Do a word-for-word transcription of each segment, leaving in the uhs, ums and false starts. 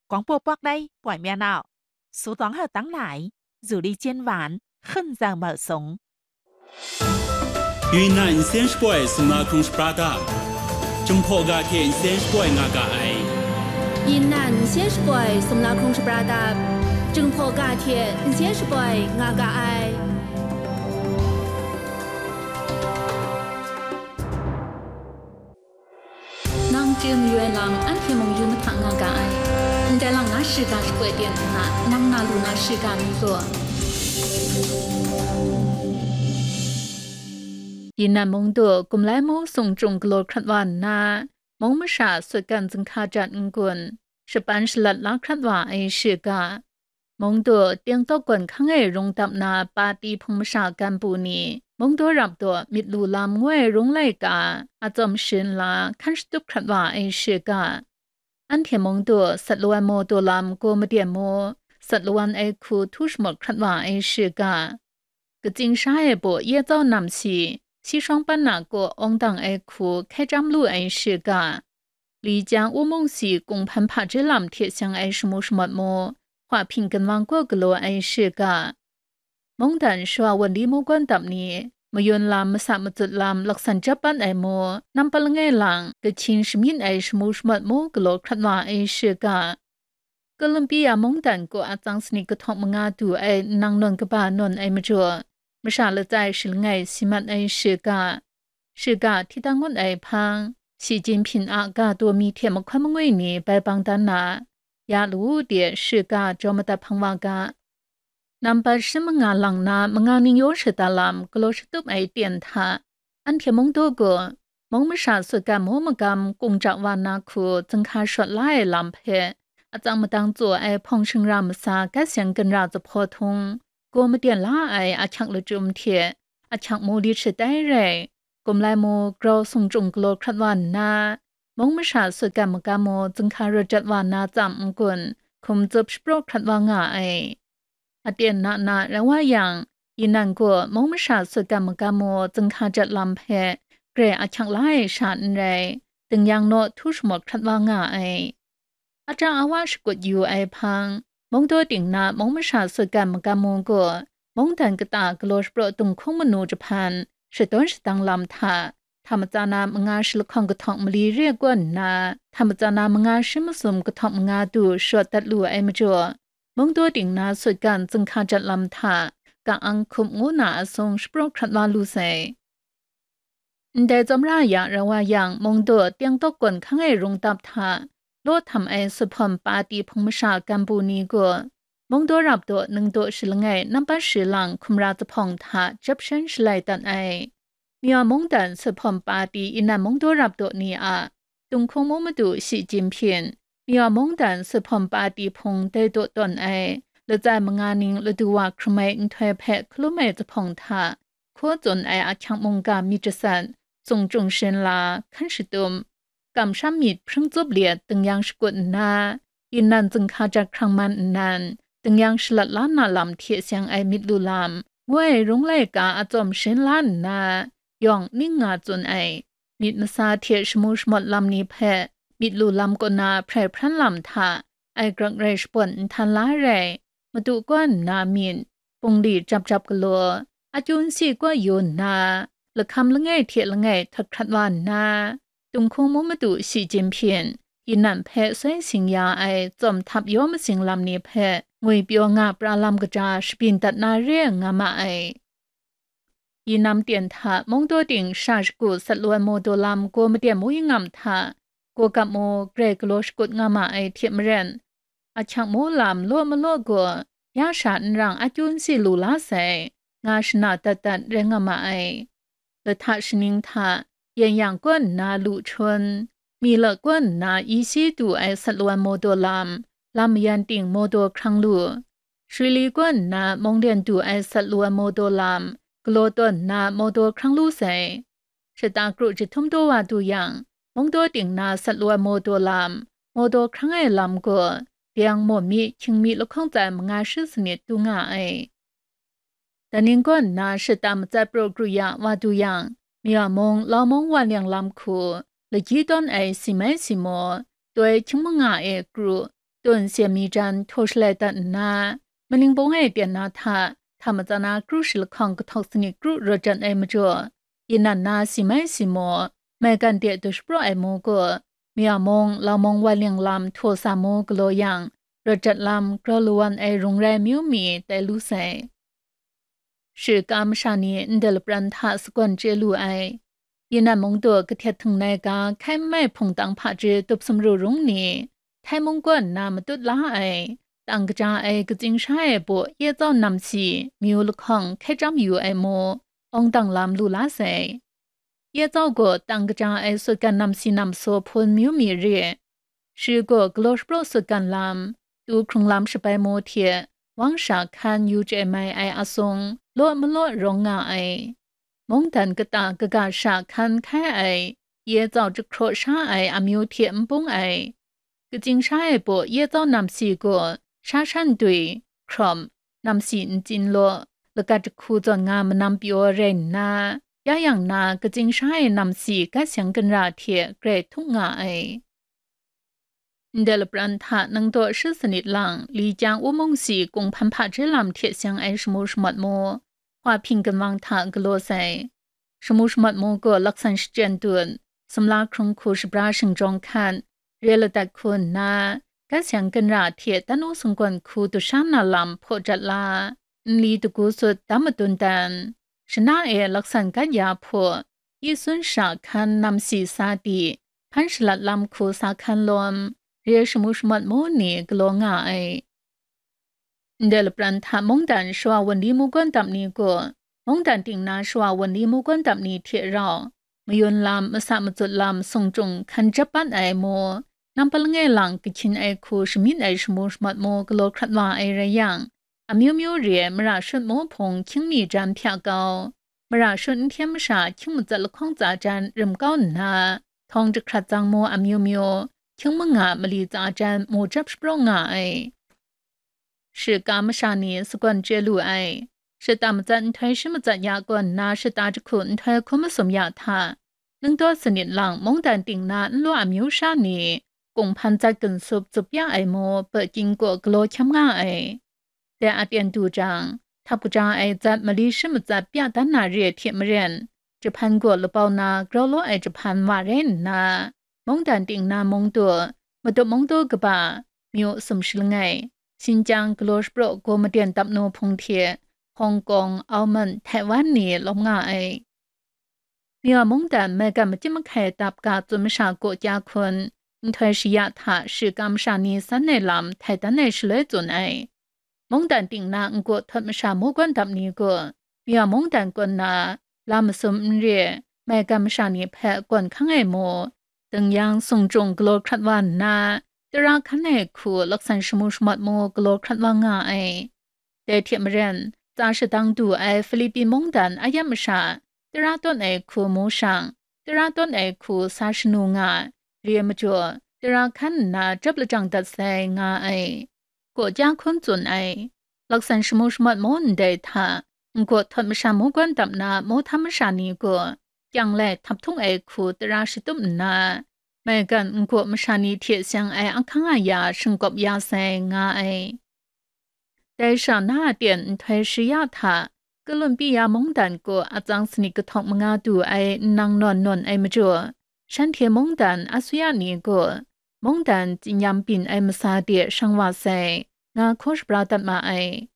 广播 Pakrai ပွင့်မြတ်အောင် စူးသွမ်းဟောက်တန်းလာ ဇူလီကျင်းဝိုင်း ခွင့်ဇော်မော်စုံ။ ယူနန် အင်စင်းရှပွိုင် စုံမခုံရှပရာဒပ် Jinghpaw ga hte n seng shapoi nga ga ai. ယူနန် အင်စင်းရှပွိုင် စုံမခုံရှပရာဒပ် Jinghpaw ga hte n seng shapoi nga ga ai. Nang chye mayu ai lam, anhte mung yu mahta nga ga ai. Ndai lang na shiga shapoi ten nna, nang na lu na shiga mi gaw. Yunan mung du Kumlai Mo Sung Chyung galaw hkrat wa nna, mung masha sutgan zinghka jat n-gun, shapan shalat la hkrat wa ai shiga. Mung du Tiangtawk gawn hkang e rung dap na pati hpung masha ganbu ni, mung daw rap daw myit lu lam ngu ai rung laika a tsawm sharin la hkan shatup hkrat wa ai shiga. Anhte mung du Satlawan Maw Daw Lam, Gaw Maden Maw, Satlawan ai hku htu shamawt hkrat wa ai shiga. Katsing sha e baw ye tsau nam si, si shawng pan na kaw awng dang ai hku hkai chyam lu ai shiga. Li jang u mung si kunghpan hpaji lam hte seng ai shamu shamawt mu, hpa hping ginwang kaw galaw ai shiga. Mungdan shawa wan li mu gawn dap ni, mayun lam, masa matsut lam, laksan jap pan ai mu, nampat langai lang, kahkying shamyin ai shamu shamawt mu galaw hkrat wa ai shiga. Columbia mungdan kaw a tsang sanit kahtawng manga du ai nnang nawn kaba nawn ai majaw, masha latsai shi langai si mat ai shiga, shiga hti dang ngut ai hpang, Xi Jinping a ga daw mi hte mahkawn mangwi ni bai bang dan na, ya lawu de shiga jaw madat hpang wa ga. Nambat shi manga lang na manga ning yaw shada lam galaw shatup ai ten hta, anhte mung daw gaw, mung masha sutgan mu magam kung ja wa na hku zinghka shawt la ai lam hpe, atsang madang tsaw ai hpawng shingra masa gat seng ginra zuphpawt htung, gaw maden la ai ahkyak lachyum hte ahkyak mu lit shatai rai, Kumlai Maw Grau Sung Chyung galaw hkrat wa nna, mung masha sutgan magam mu zinghka rawt jat wa na tsam n-gun, hkum tsup shapraw hkrat wa nga ai. Aten na na rai wa yang, Yunan gaw mung masha sutgan magam mu zinghka jat lam hpe grai ahkyak la ai sha n rai, dingyang naw htu shamawt hkrat wa nga ai. Aja awa shakut yu ai hpang, mung daw ting na mung masha sutgan magam mu gaw, mungdan kata galaw shapraw dunghkung manu jahpan, shadawn shadang lam hta, hta matsa na manga shi lahkawng kahtawng mali re kaw nna, hta matsa na manga shi masum kahtawng manga du shawt dat lu ai majaw, mung daw ting na sutgan zinghka jat lam hta, ka-ang hkup ngu na asung shapraw hkrat wa lu sai. Ndai tsawmra ya rai wa yang, mung daw Tiangtawk gawn hkang e rung dap hta, law htam ai suphawm pati hpung masha ganbu ni gaw, mung daw rap daw ningdaw shi langai nampat shi lang hkumra zuphpawng hta jep shen shalai dat ai. Myaw mungdan suphawm pati inan mung daw rap daw ni a, Dunghkung mu madu Xi Jinping, Myaw mungdan suphawm pati hpung dai daw tawn ai, latsai manga ning ladu wa hkrum ai nhtoi hpe hkalum ai zuphpawng hta, hkaw tsun ai ahkyak mungga myit jasat, sung chyung shin la, hkan shatup, kamsham myit hpring tsup liet dingyang shakut nna, Yunan zinghka jat hkrang man nnan, dingyang shalat la na lam hte seng ai myit lu lam, ngu ai rung laika a tsawm shin la nna, yawng ning nga tsun ai, myit masa hte shamu shamawt lam ni hpe myit lu lam kaw na hprai hpran lam hta, ai grak rai shapawn nhtan la rai, madu kaw nna myit, bungli jap jap galaw, akyu nsi kaw yu nna, lahkam langai hte langai htot hkrat wa nna, Dunghkung mu madu Xi Jinping, Yunan hpe soi sing ya ai tsawm htap yaw masing lam ni hpe ngwi pyaw nga pra lam kaja shabyin dat na re nga ma ai. Yunan ten hta mung daw ting sha shagu Satlawan Maw Daw Lam, Gaw Maden Maw Yingam hta, Gaw Gap Maw grai galaw shakut nga ma ai hte maren, ahkyak mu lam law malaw gaw, ya sha n rang akyu nsi lu la sai, nga shana dat dat rai nga ma ai. Lahta shaning hta, Yen Yang kaw nna Lu Chun, Mila kaw nna Isi du ai Satlawan Maw Daw Lam, lam mayan ting Maw Daw Hkrang Lu, Shwi Li kaw nna Mawng Lyen du ai Satlawan Maw Daw Lam, galaw tawn nna Maw Daw Hkrang Lu sai. Shata kru jahtum daw wa du yang, mung daw ting na Satlawan Maw Daw Lam, Maw Daw Hkrang ai lam gaw, dayang maw mi, hkying mi lahkawng tsai manga shi sanit du nga ai. Daning kaw nna shata matsat praw kru ya wa du yang, Myaw mung, Lau mung, Wan Liang lam hku, lagyi tawn ai si mai si maw, doi hkying manga e kru, tun sya mi jan htaw shalai dat nna, Maling bung e pyan na hta, hta matsan na kru shi lahkawng kahtawk sanit kru rawt jat ai majaw, yin nan na si mai si maw, maigan de du shapraw ai maw gaw, Mya mung, Lau mung wan ling lam htaw sa mu galaw yang, rawt jat lam grau lawan ai rung rai amyu mi tai lu sai. Shika masha ni ndai lapran hta sagawn chye lu ai. Yinan mung du kahtet htung nai ga hkai n mai hpung tang hpaji tup sumru rung ni, Htai mung kaw nna matut la ai, tang kaja ai katsing sha ai baw ye tsau namsi, myu lahkawng hkai chyam yu ai mu, awng dang lam lu la sai. Ye tsau gaw tang kaja ai sutgan namsi namsaw hpun myu mi re. Shi gaw galaw shapraw sutgan lam, tu hkrung lam shabai mu hte, wang sha hkan yu chye mai ai asung, law malaw rawng nga ai. Mungdan kata kaga sha hkan hkai ai, ye tsau jahkraw sha ai amyu hte n bung ai. Katsing sha ai baw ye tsau namsi gaw, sha shan dwi, hkrawm, namsi ntsin law, lagat jahku zawn nga manam pyaw rai nna, ya yang na katsing sha ai namsi gat seng ginra hte grai htup nga ai. Ndai lapran hta nang daw shi sanit lang, li kyang u mung si kung hpan hpaji lam hte seng ai shamu shamawt mu, hpa hping ginwang hta galaw sai. Shamu shamawt mu gaw laksan shachyen dun, sumla hkrung hku shabra shingjawng hkan, re ladat hku nna, gat seng ginra hte dan u sunggawn hku du sha na lam hpaw jat la, nli dagu sut dam madun dan, shana e laksan gat ya hpaw, yi sun sha hkan namsi sa di, hpan shalat lam hku sa hkan lawm, re shamu shamawt mu ni galaw nga ai. Ndai lapran hta mungdan shawa wunli mungkan dap ni gaw, mungdan ting na shawa wunli mungkan dap ni hte rau, mayun lam, masa matsut lam, sung chyung hkan jap pat ai mu, nampa langai lang kahkyin ai hku shamyin ai shamu shamawt mu galaw hkrat wa ai rai yang, amyu myu re ai mara shut mu hpung hkying mi jan hpya kau, mara shut n hkyen masha hkying matsat lahkawng tsa jan rim kau nna, htawng jahkrat tsang mu amyu myu, hkying manga mali tsa jan mu jap shapraw nga ai. Shika masha ni sagawn chye lu ai. Shata matsat nhtoi shi matsat ya kaw nna shata jahku nhtoi hkum masum ya hta, ningdaw sanit lang mungdan ting na nlaw amyu sha ni, kung hpan zat ginsup tsup ya ai mu, Peking kaw galaw hkyam nga ai. Dai aten du jang, htap kaja ai zat mali shi matsat pya dan na re hte maren, jahpan gaw labau na grau law ai jahpan wa rai nna, mungdan ting na mung du, matup mung du kaba, myu sum shi langai, Xinjiang galaw shapraw gaw maden dap nu hpung hte, Hong Kong, Auman, Taiwan ni lawm nga ai. Mya mungdan maigan machyim mahkai dap ga tsun masha gaw kya hkun, nhtoi shaya hta shika masha ni san ai lam htai dan ai shaloi tsun ai. Mungdan ting na nkaw htawt masha mungkan dap ni gaw, mya mungdan kaw nna, lam masum n re, maigan masha ni hpe gawn hkang ai mu, ding yang sung jung galaw hkrat wa nna, tara hkan ai hku laksan shamu shamat mu galaw hkrat wa nga ai. Dai hte maren, tsa shadang du ai Philippi mungdan a yam masha, tara tawn ai hku mu shang, tara tawn ai hku sa shanu nga, re ai majaw, tara hkan nna jap lajang dat sai nga ai. Gaw kya hkun tsun ai. Laksan shamu shamat mu ndai hta, nkaw htawt masha mungkan dap na mawhtam masha ni gaw, kyang lai htap htung ai hku tara shatup nna, maigan nkaw masha ni hte seng ai ahkang aya shingkawp ya sai nga ai. Dai sha na a ten nhtoi shaya hta, Kolumbiya mungdan gaw atsang sanit kahtawk manga du ai nnang nawn nawn ai majaw, shanhte mungdan asuya ni gaw, mungdan tsinyam byin ai masa de shang wa sai, nga hkaw shabra dat ma ai.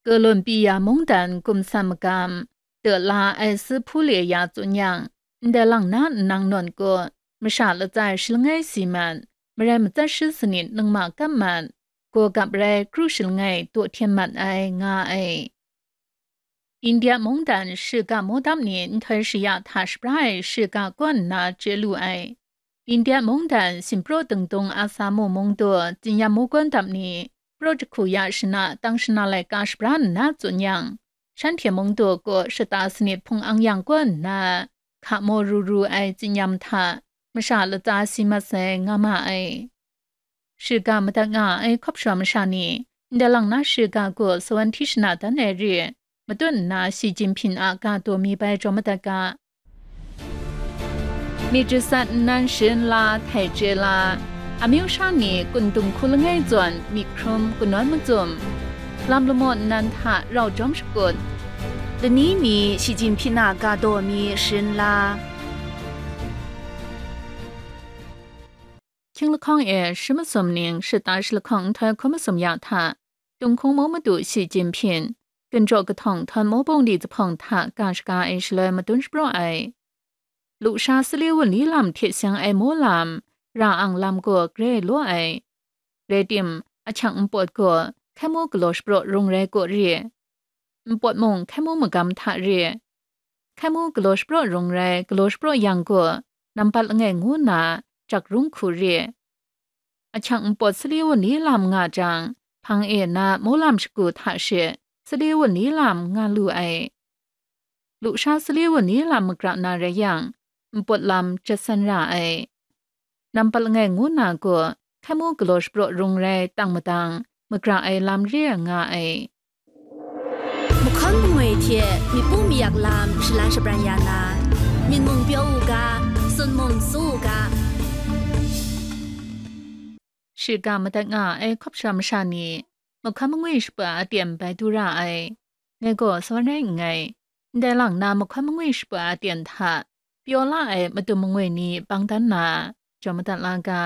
Kolumbiya mungdan gumsan magam, de la ai si hpu le ya tsun yang, ndai lang na nnang nawn gaw, masha latsa shi langai si mat, marai matsat shi sanit ningma kam mat, gaw gap rai kru shi langai daw hten mat ai nga ai. India mungdan shiga mawdap ni nhtoi shaya hta shabra ai shiga kaw nna chye lu ai. India mungdan Simpraw dingdung Asamu mungdaw tsinyam mungkan dap ni, praw jahku ya shana tang shana laika shabra nna tsun yang, shanhte mungdaw kaw shata sanit hpung ang yang kaw nna, hka maw ru ru ai tsinyam hta, masha latsa si mat sai nga ma ai. Shiga madat nga ai hkawp shawa masha ni, ndai lang na shiga gaw sawan hti shana dan ai re, matut nna Xi Jinping a ga daw mi bai jaw madat ga. Myit jasat nnan sharin la htai chye la, Amyu sha ni kun dung hku langai zawn myit hkrum kanawn macum, lam lamaw nnan hta rau jawm shakut, lani mi shi jin hpyi na ga daw mi sharin la. Hkying lahkawng e shi masum ning shata shi lahkawng nhtoi hkun masum ya hta, Tung hkung mu madu Shi Jinping, gun jaw kahtawng htawn mu bungli zuphpawng hta ga shaga ai shaloi madun shapraw ai. Lusha sali wunli lam hte seng ai mu lam, ra ang lam gaw grai law ai. Rai tim, ahkyang npawt gaw hkai mu galaw shapraw rung rai gaw re. Npawt mung hkai mu magam hta re. Hkai mu galaw shapraw rung rai, galaw shapraw yang gaw, nampat langai ngu nna, jak rung hku re. Ahkyang npawt sali wunli lam nga jang, hpang e na mu lam shagu hta she sali wunli lam nga lu ai. Lusha sali wunli lam magra na rai yang, npawt lam jet san ra ai. Nampat langai ngu na gaw, hkai mu galaw shapraw rung rai tang madang, magra ai lam re nga ai. Mahkawn mangwi hte myit pu mayak lam shalan shabran ya na, myit mung pyaw u ga, sun mung su u ga. Shiga madat nga ai hkawp sha masha ni, mahkawn mangwi shapa aten bai du ra ai. Ngai gaw sa rai nngai, ndai lang na mahkawn mangwi shapa aten hta pyaw la ai madum mangwi ni bang dan na, jaw madat la ga.